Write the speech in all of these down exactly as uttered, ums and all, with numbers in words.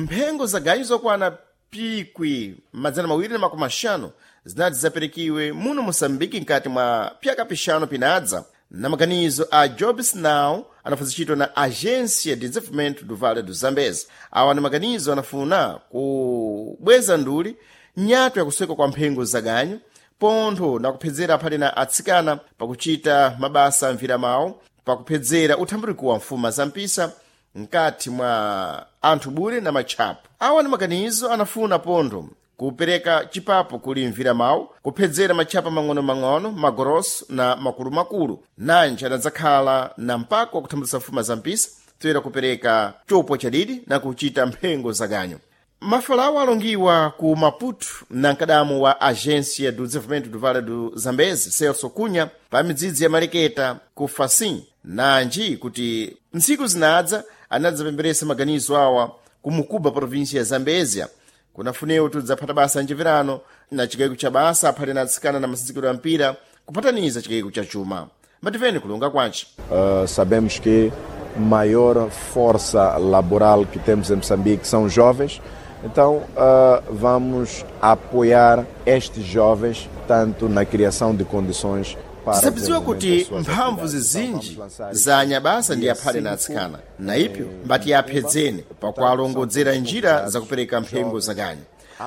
Mphengo za ganyu zokwana pikwi madzana mawiri na makumi axanu zinati zaperekiwe muno Moçambique nkati mwa pyaka pixanu pinadza na maganizo a Jobs Now anafuzitchitwa na Agência de Desenvolvimento do Vale do Zambeze. Awa ni maganizo anafuna kubweza nduli nyatwa yakusweka kwa mphengo za ganyu pontho na kuphedzera aphale na atsikana pakuchita mabasa amvira mawo, pakuphedzera uthambuliko wa mfuma za mpisa nkati mwa anthu bule na matchapo. Awa ni maganizo anafuna pontho kupereka chipapo kuli mvira mawu, kuphedzera matchapa mang'ono-mang'ono, magoroso na makulumakulu, nanji anadzakhala na mpako wakuthambulitsa mfuma za mpisa toyera kupereka chopo chadidi na kuchita mphengo za ganyu. Mafalawo alongiwa ku Maputo na mkadamu wa Agência do Desenvolvimento do Vale do Zambeze, Celso Cunha, pa midzidzi ya Maleketa ku Facim, nanji kuti ntsiku zinadza anadzapemberesa maganizo awa ku Mukuba, província ya Zambezia. Kunafunewo tudzaphata basa njeverano na chikayiko cha basa aphale na atsikana na masinzikiro ya mpira kupataniza chikayiko cha chuma. Mbativeni kulonga kwanci. Uh, sabemos que maior força laboral que temos em Moçambique são jovens, então uh, vamos apoiar estes jovens tanto na criação de condições para Tisapiziwa desenvolvimento kuti das suas mphamvu atividades. zizinji Então, vamos lançar za anyabasa ndi dia aphale na cinco atsikana na ipyo mbati aphedzene pakualongodzera njira zakupereka mphengo za ganyu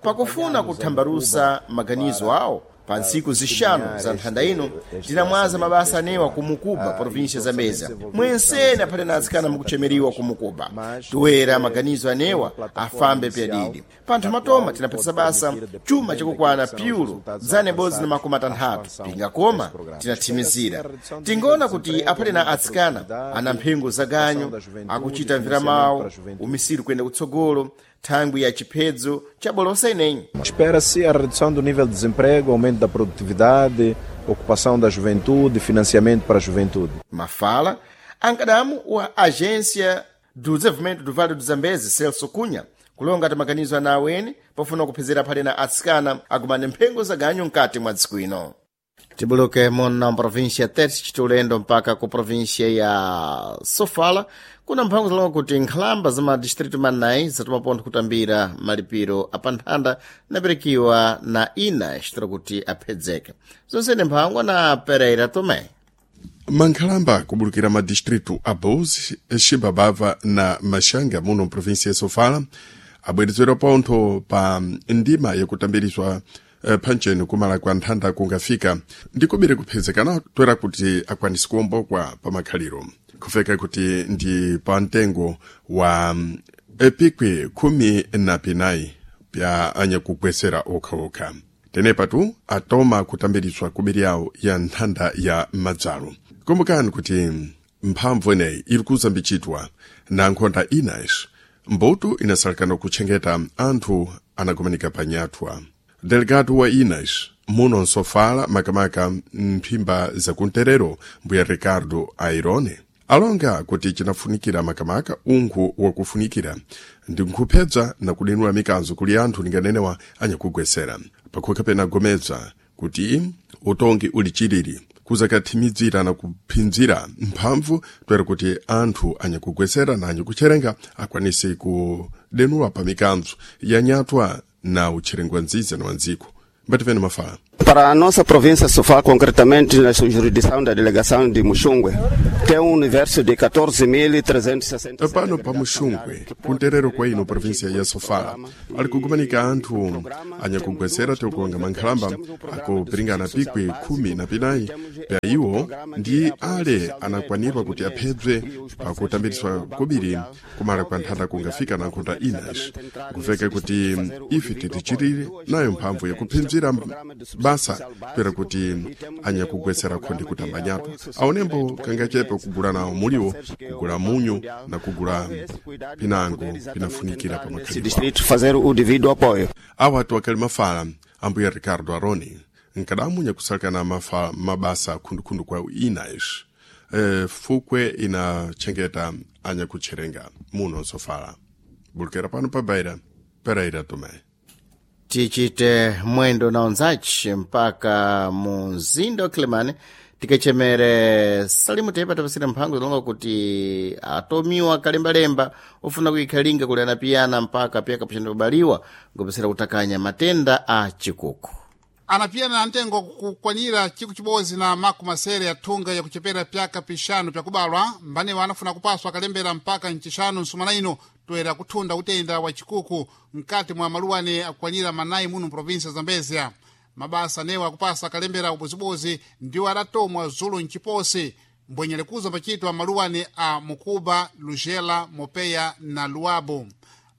pakufuna kuthambalusa maganizo awo. Pa ntsiku zixanu za nthanda ino tinamwaza mabasa anewa ku Mukuba, província Zambezia. Mwensene aphale na atsikana mukuchemeriwa ku Mukuba, toera maganizo anewa afambe pyadidi. Panthu matoma tinaphatisa basa chuma chakukwana piulo dzana ibodzi na makumi atanthatu pingakoma tinathimizira. Tingoona kuti aphale na atsikana ana mphengo za ganyu akuchita mvira mawo umisiri kuyenda kutsogolo thangwi ya chiphedzo cha bolosa ineyi. Espera-se a redução do nível de desemprego, aumento da produtividade, ocupação da juventude, financiamento para a juventude. Mafala ankadamu wa Agência do Desenvolvimento do Vale do Zambeze, Celso Cunha, kulonga ti maganizo ana aweni pofuna kuphedzera aphale na atsikana akumane mphengo za ganyu mkati mwa dziko ino. Tibuluke muno mprovíncia ya Tete, chiti ulendo mpaka ku província ya Sofala, kuna mphango zalonga kuti nkhalamba za madistritu manayi zatuma pontho kutambira malipiro apanthanda naperekiwa na ina xitira kuti aphedzeke. Zonsene mphangwa na Pereira Tomé. Mankhalamba kubulukira madistritu a Bozi, Xibabava na Maxanga muno mprovíncia ya Sofala abwerezedwa pontho pa ndima yakutambirizwa eh, phancheni kumala kwa nthanda kungafika ndikubiri kuphezekana toera kuti akwanise kuwombokwa pa makhaliro kufeka kuti ndi pa mtengo wa mm, epikwi khumi na pinayi pya anyakugwesera okhaokha. Tenepatu atoma kutambiriswa kubiri yawo ya nthanda ya madzalo. Kumbukani kuti mphamvu ineyi iri kuzambichitwa na nkhonda inayi mbuto inasalekana kutchengeta anthu anakumanika panyathwa. Delegado wa inas muno nsofala, makamaka mphimba zakunterero, mbuya Ricardo Airone, alonga kuti chinafunikira makamaka unkhu wakufunikira ndi nkuphedza na kudenula mikanzo kuli anthu linganenewa anyakugwesera pakhoka pena gomedza kuti utongi uli chilili kuzakathimidzira na kuphinzira mphamvu toera kuti anthu anyakugwesera na anyakutcherenga akwanise kudenula pa mikanzo yanyatwa na utcherengwa nziza na wandziko. Mbativene mafala. Para a nossa província Sofala, concretamente na sua jurisdição da delegação de Muxungue, tem um universo de catorze mil trezentos e sessenta e sete. Pano pa Muxungwe, kunterero kwa ino província ya Sofala, ali kukumanika anthu anyakugwesera tikukonga mankhalamba akupiringana pikwi khumi na pinayi pya iwo ndi ale anakwanirwa kuti aphedzwe pakutambiriswa kobiri kumala kwa nthanda kungafika na nkhunda inas kuveka kuti ife titichirire nayo mphamvu yakuphinzira basa kwera kuti anyakugwesera khondi kutambanyatwa aonembo kangachepe kugula nawo muliwo, kugula munyu na kugula pinango pinafunikira pa Nesse makhalidwe. distrito fazer o devido apoio. Awa atu akali mafala ambuya Ricardo Aroni, nkadamu nyakusalakana mafa mabasa khundukhundu kwa inas e, fukwe inachengeta anyakutcherenga muno nsofala. Bulukira pano pa Beira, Pereira Tomé. Tichite mwendo na onzachi mpaka mu mzinda wa Kilimani, Tikachemere Salimu Tepa tapasira mphango zilonga kuti atomiwa kalembalemba ofuna kuikhalinga kuli anapiyana mpaka pyaka pachana kubaliwa ngopesera kutakanya matenda a chikuku. Anapiyana na ntengo kukwanira chiku chibodzi na makumi masere ya thunga yakuchepera pyaka pixanu pyakubalwa mbanewa anafuna kupaswa akalembera mpaka ncixanu nsumana ino toera kuthunda utenda wa chikuku mkati mwa maluwane akukwanira manayi muno mprovinsia Zambezia. Mabasa anewa akupasa akalembera ubozibozi ndiwo adatomwa zulu mchiposi mbwenyelekuza pachitwa maluwane a Mukuba, Lugela, Mopeya na Luabo.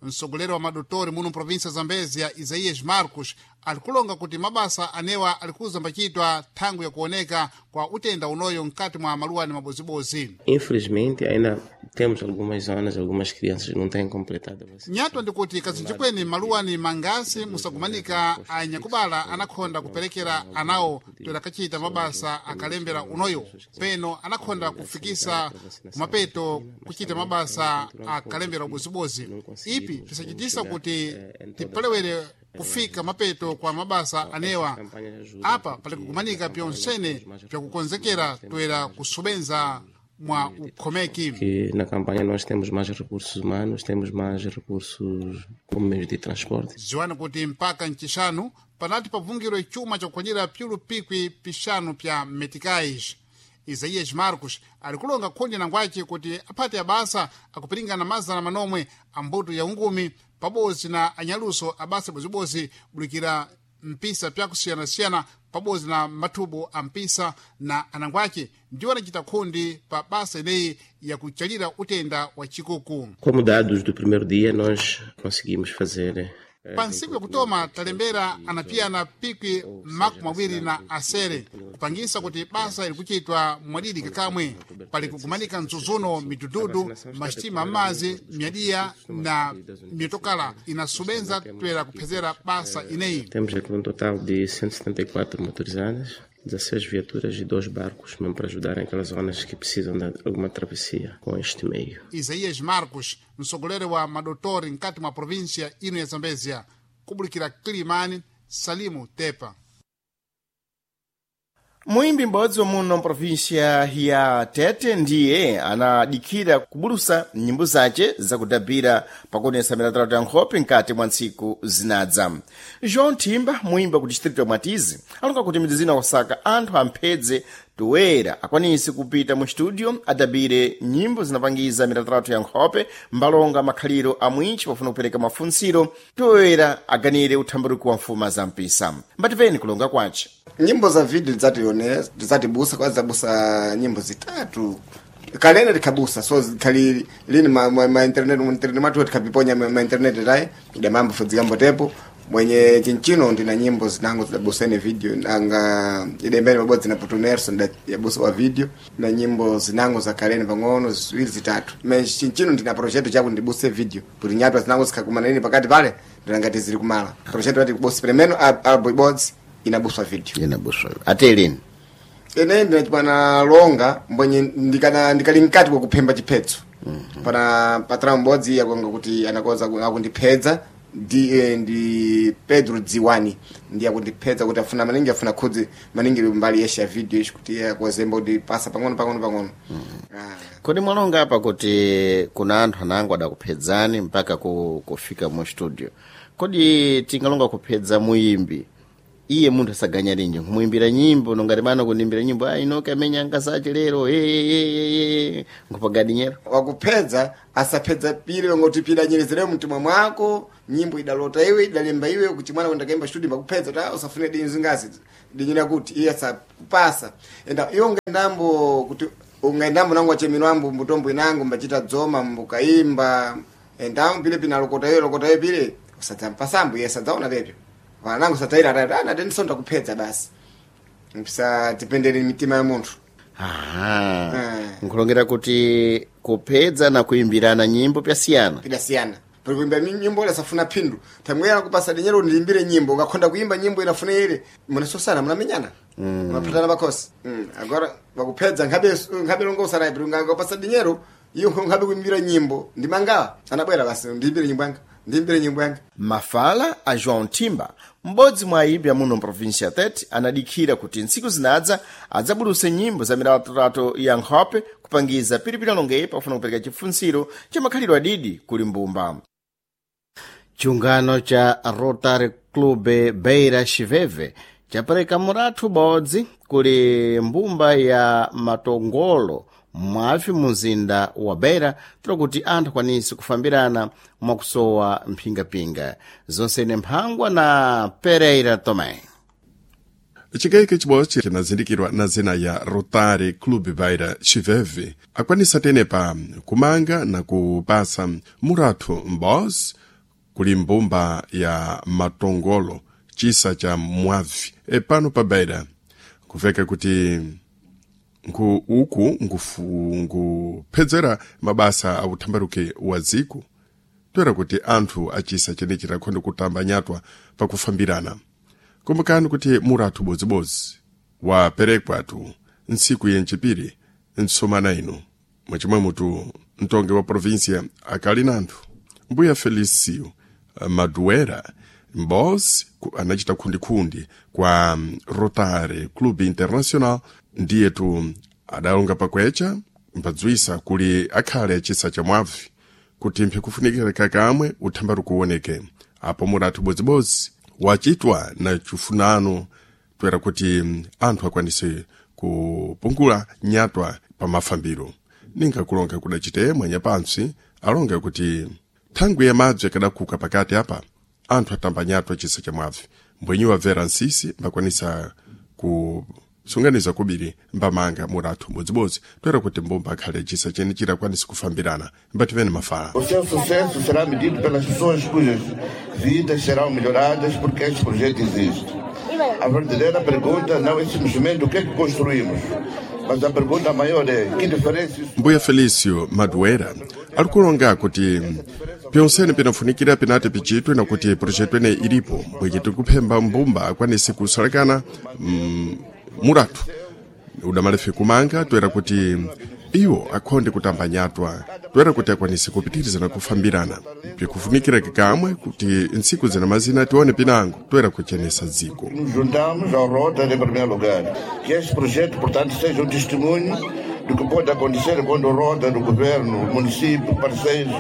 Msogoleri wa madotori muno mprovinsia Zambezia Isaías Marcos alikulonga kuti mabasa anewa alikuza mbachitwa thangu yakuoneka kwa utenda unoyo mkati mwa maluwane mabozibozi. Infelizmente, ainda temos algumas zonas, algumas crianças que não têm completado a vacinação. Nyatwa ndikuti kazinji kweni maluwani mangasi musakumanika anyakubala anakhonda kuperekera anawo toera kachita mabasa akalembera unoyo peno anakhonda kufikisa kumapeto kuchita mabasa akalembera ubozibozi. Ipi pisachitisa kuti tipalewere kufika mapeto kwa mabasa anewa apa pali kukumanika pyonsene pyakukonzekera toera kusobenza mwa ukhomeki. Que na campanha nós temos mais recursos humanos, temos mais recursos como meios de transporte. Ziwani kuti mpaka ncixanu panati pavungirwe chuma chakukwanira pyulu pikwi pixanu pya meticais. Isaías Marcos alikulonga khundi nangwace kuti aphate abasa akupiringana mazana manomwe a mbuto ya ungumi pabodzi na anyaluso abasa bozibozi bulikira mpisa pyakusiyanasiyana pabodzi na mathubu a mpisa na anangwace ndiwo anacita khundi pa basa ineyi yakuchalira utenda wa chikuku. Como dados do primeiro dia, nós conseguimos fazer Pa ntsiku yakutoma talembera anapiyana pikwi makumi mawiri na asere kupangisa kuti basa ilikuchitwa mwadidi kakamwe. Pali kukumanika mzuzuno midududu masitima amazi myadiya na mitokala inasubenza toera kuphezera basa ineyi. Temos aqui um total de cento e setenta e quatro motorizadas, dezesseis viaturas e dois barcos mesmo para ajudar aquelas zonas que precisam de alguma travessia com este meio. Isaías Marcos, msogoleri wa madotori mkati mwa província ino ya Zambezia, kubulikira Kilimani, Salimu Tepa. Muimbi m'bodzi wamuno mprovinsia ya Tete ndiye anadikira kubulusa nyimbo zace zakudabira pakuonesa milatalata ya nkhope nkati mwa ntsiku zinadza. João Thimba, muimbi wa ku distrito ya Mwatizi, alonga kuti midzi zina kusaka anthu amphedze toera akwanise kupita mu studio adabire nyimbo zinapangiza milatalata ya nkhope mbalonga makhaliro a mwinchi pofuna kupereka mafunsiro toera aganire uthambaruki wa mfuma za mpisa. Mbatipeni kulonga kwace. Nyimbo za video tidzatione tidzatibusa kwa zabusa nyimbo zitatu kalene tikhabusa so zikhali lini ma, ma, ma internet mu internet mwathu tikhapiponya ma, ma internet tayi idamambo fudzikambo tepo mwenye chinchino ndina nyimbo zinango zidabusene video nanga idembene pabodzi na Putu Nelson yabusa wa video na nyimbo zinango za kalene pang'ono ziwiri zitatu me chinchino ndina project chaku ndibuse video kuti nyatwa zinango zikhakumana lini pakati pale ndinangati zili kumala project pati kubusa premeno album ibodzi inabuswa video Inabuswa ate lini ene ndinachipana longa mbwenye ndikana ndikali mkati kwa kuphemba chiphetso mm -hmm. Pana patrão m'bodzi akonga kuti anakonza akundiphedza ndi eh, ndi Pedro Dziwani ndi akundiphedza kuti afuna maningi afuna khudzi maningi mbali yesha ya video ishi kuti iye akozemba kuti pasa pang'ono pang'ono pang'ono mm -hmm. Ah. Kodi mwalonga apa kuti kuna anthu anango adakuphedzani mpaka ku, kufika mu studio kodi tingalonga kuphedza muyimbi iye munthu asaganya linji nkumuimbira nyimbo nongati bana kundimbira nyimbo ah inoke amenya angasache lero eh nkupagadinyero Wakuphedza asaphedza pili wangoti pili anyerezere mtima mwako nyimbo idalota iwe idalemba iwe kuti mwana kwenda kaimba studio makupedza ta usafune dinyi zingazi dinyi kuti iye asakupasa enda iwe ungaendambo kuti ungaendambo nangu achemino ambo mbutombo inangu mbachita dzoma mbukaimba endambo pile pinalokota iwe lokota iwe pile usadzampasambo iye sadzaona pepyo vanangu sataira atati ana tendisonda kupedza basi msatipendere mitima ya munthu. Aha. Eh. Nkulongera kuti kupedza na kuimbirana nyimbo pyasiyana. Pidasiyana pali kuimba mi- nyimbo ila safuna phindu tamwera kupasa dinyero ndiimbire nyimbo ukakhonda kuimba nyimbo inafuna ile munasosana munamenyana mm. munaphatana pakhosi mm. Agora wakupedza nkhabe nkhabe longo usanayi pali ungakupasa dinyero iyo nkhabe kuimbira nyimbo ndimangawa anabwera basi ndiimbire nyimbo yanga ndiimbire nyimbo yanga. Mafala a João Timba M'bodzi mwa ayimbi amuno mprovinsia Tete anadikhira kuti ntsiku zinadza adzabuluse nyimbo za milatolato ya nkhope kupangiza pilipili alongeyi pafuna kupereka chifunsiro cha makhalidwe adidi kuli mbumba. Chiungano cha Rotary Club Beira Chiveve chapereka murathu ubodzi kuli mbumba ya matongolo mwafi muzinda wa Beira tolo kuti anthu akwanise kufambirana mwakusowa mphingapinga. Zonse mphangwa na Pereira Tomé. Chikayike chibodzi chinazindikirwa na zina ya Rotary Club Beira Chiveve akwanisa tenepa kumanga na kupasa murathu m'bodzi kuli mbumba ya matongolo chisa cha mwavi e pano pa Beira. Kuveka kuti nku uku nkufu- nkuphedzera mabasa a uthambaruke wa dziko toera kuti anthu achisa chenechi rakhonde kutamba nyatwa pakufambirana. Kumbukani kuti murathu bodzibodzi waperekwatu ntsiku yenchipiri ntsomana ino mwachimwe mutu mtongi wa província akali nanthu mbuya Felicio Maduera mbos anachita khundikhundi kwa Rotary Club International ndiyetu adalonga pakwecha mbadzwisa kuli akhale achisa cha mwavi kuti mphikufunikira kakamwe uthambari kuwoneke apo murathu bodzibodzi wachitwa na chifunano toera kuti anthu akwanise kupungula nyatwa pa mafambiro. Ninga kulonga kudachite mwanya pantsi alonga kuti thangwi ya madzi akadakhuka pakati apa anthu atamba nyatwa chisa cha mwavi mbwenyi wabvera nsisi mbakwanisa kusunganiza kubiri mbamanga murathu bodzibodzi toera kuti mbumba akhale chisa chene chirakwanisa kufambirana mbativene mafala. O seu sucesso será medido pelas pessoas cujas vidas serão melhoradas porque este projeto existe. A verdadeira pergunta não é simplesmente o que é que construímos, mas a pergunta maior é que diferença isso Mbuya Felicio Maduera ali kulonga kuti pyonsene pinafunikira pinati pichitwe na kuti projeto ene ilipo bweke tikuphemba mbumba akwanise kusalekana mm, murathu udamalefe kumanga toera kuti iwo akhonde kutamba nyatwa toera kuti akwanise kupitiriza na kufambirana pikufunikira kikamwe kuti ntsiku zina mazina tione pinango toera kuchenesa dziko. Nos juntamos ao Rotary em primeiro lugar. Que este projeto, portanto, seja um testemunho do que pode acontecer quando o Rotary, o governo, o município, parceiros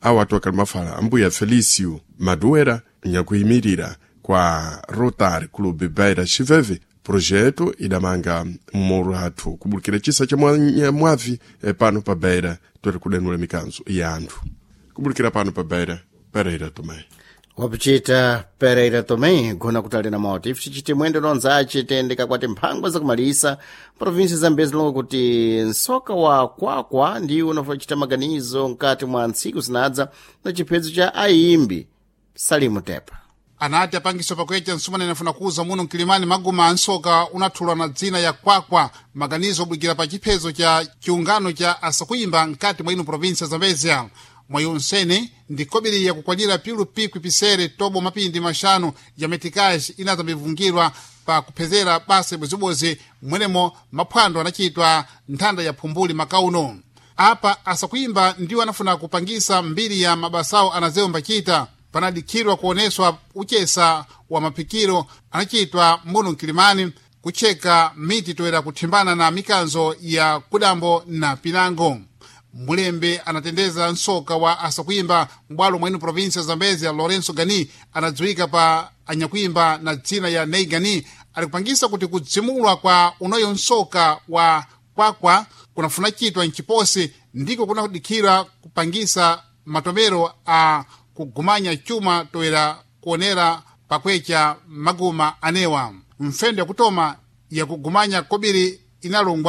Awa atu akali mafala ambuya Felicio Maduera nyakuyimirira kwa Rotary Club Beira Chiveve projeto idamanga murathu kubulukira chisa cha mwa- mwavi eh, pano pa Beira toera kudenula mikanzo ya anthu kubulukira pano pa Beira. Pereira Tomé. Wapichita Pereira Tomé gona kutali na moti ife tichiti mwendo nonzace tiyendeka kwati mphangwa zakumalisa provinsi zambezi zilonga kuti nsoka wa kwakwa ndiwo unafuna maganizo mkati mwa ntsiku zinadza na chiphedzo cha ayimbi Salimu Tepa. Anati apangiso pakuyecha nsumane inafuna kuuza muno mkilimani maguma ansoka unathulwa na dzina ya kwakwa maganizo obwikira pa chiphezo cha chiungano cha asakuyimba mkati mwa ino provinsia Zambezia. Mwayi unsene ndi kobiri yakukwanira pilu pikwi pisere tobo mapindi maxanu ya metikaji inazambivungirwa pa kuphezera basa ibwezibwezi mwenemo maphwando anachitwa nthanda ya phumbuli makauno. Apa asakuyimba ndiwo anafuna kupangisa mbiri ya mabasawo anazewo mbachita panadikhirwa kuoneswa uchesa wa maphikiro anachitwa muno mkilimani kucheka miti toera kuthimbana na mikanzo ya kudambo na pinango. Mulembe anatendeza nsoka wa asakuyimba m'bwalo mwenu provinsia Zambezia Lorenzo Gani anadziwika pa anyakuimba na dzina ya Nei Gani alikupangisa kuti kudzimulwa kwa unoyo nsoka wa kwakwa kunafuna chitwa mchiposi ndiko kunadikhira kupangisa matomero a kugumanya chuma toera kuonera pakwecha maguma anewa mfendo yakutoma yakugumanya kobiri inalongwa.